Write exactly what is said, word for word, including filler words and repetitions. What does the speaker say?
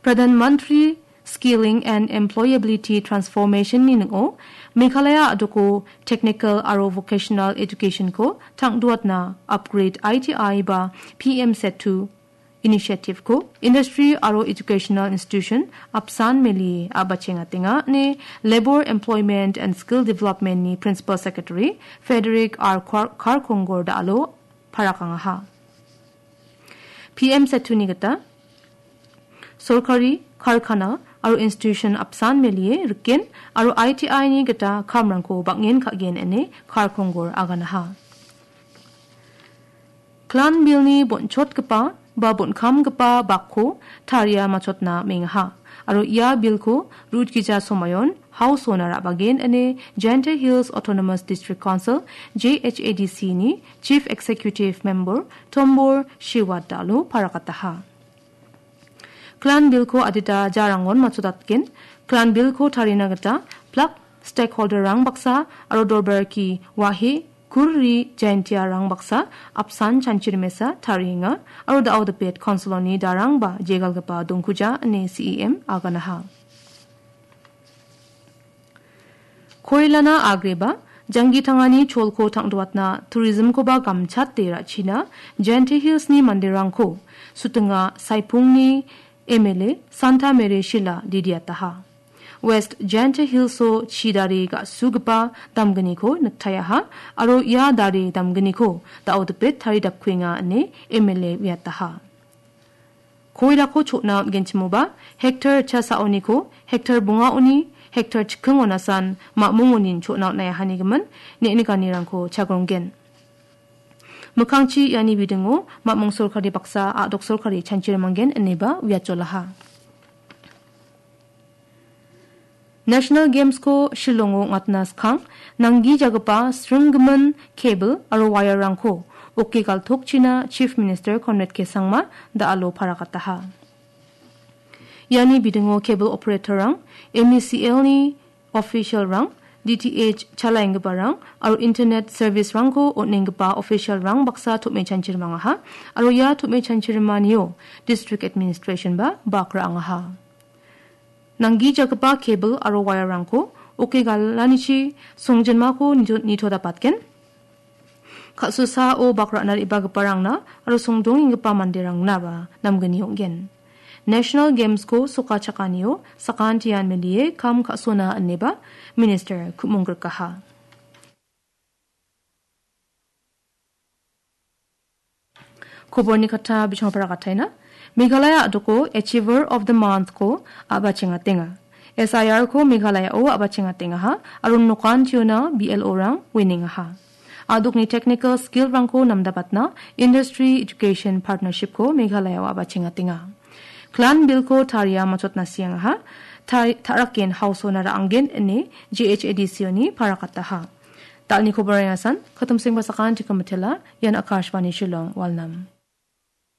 Pradhan Mantri Skilling and Employability Transformation-ni ning·o Meghalaya a·doko technical aro vocational education-ko tangduatna upgrade I T I ba P M Setu initiative-ko industry aro educational institution apsan melie a·bachengatenga ine Labour, Employment and Skill Development-ni Principal Secretary Frederick R Kar-, Karkongor Dalo parakangaha. P M Setuni gita sorkari, karkana aro institution apsan melie riken aro I T I-ni gita kamrangko bang·en ka·gen ine Karkongor aganaha. Klan Bill-ni bonchotgipa ba bonkamgipa bakko taria machotna mengaha. Aro ia Bill-ko rutgija somayon House-ona ra·bagen ine Jaintia Hills Autonomous District Council, J H A D C-ni Chief Executive Member Tombor Shiwat Dalo parakataha. Klan Bill-ko adita jarangon machodatgen, Klan Bill-ko tarina gita plak stakeholder-rang baksa aro Dorbarki Wahe Kurri Jaintiarang baksa apsan chanchirimesa tarienga aro da·o dipet konsiloni darang ba jegalgipa dongkuja ine C E M aganaha. Koilana agreba, janggi tangani cholko tangduatna, tourism-koba gamchate ra·china, Jaintia Hills-ni manderangko Sutinga Saipungni M L A Santa Mary Shila didiataha. West Jaintia Hills-o chi dare ga·sugipa damgniko niktayaha, aro ia dare damgniko da·o dipet taridapkuenga ine M L A uiataha. Koirako chotna on·genchimoba, hektar cha sa·oniko, hektar bongaoni, hektar chikingonasan mamung onin chotna on·aihanigimin, ne·nikanirangko chagronggen. Mikkangchi iani bidingo mamung sorkari baksa a·dok sorkari chanchirimanggen ineba uiatjolaha. National Games-ko Shillongo ong·atna skang, nanggijagipa sringgimin cable aro wire-rangko oke galtokchina Chief Minister Conrad K Sangma da·alo parakataha. Iani bidingo cable operator-rang, M E C L-ni official-rang, D T H chalaenggiparang aro internet service-rangko on·enggipa official-rang baksa tom·e chanchirimangaha, aro ia tom·e chanchirimanio district administration-ba bak ra·angaha. Nanggijagipa cable aro wire-rangko oke galanichi songjinmako nito-, nitodapatgen. Ka·susao bak ra·na re·bagiparangna aro songdongenggipa manderangnaba namgni ong·gen. National Games-ko sokachakanio sakantian melie kam ka·sona ineba Minister ku·monggrikaha. Koborni kata bichongrangko rakataina. Meghalaya a·doko Achiever of the Month-ko a·bachengatenga. S I R-ko Meghalayao a·bachengatengaha, aro nokantiona B L O-rang winengaha. A·dokni technical skill-rangko namdabatna Industry Education Partnership-ko Meghalayao a·bachengatenga. Klan Bill-ko taria machotna siangaha, ta-, ta·raken House-ona ra·anggen ine J H A D C-oni parakataha. Dalni koborang asan, katumseng basakan chikamatela, ian Akashvani Shillong, Walnam.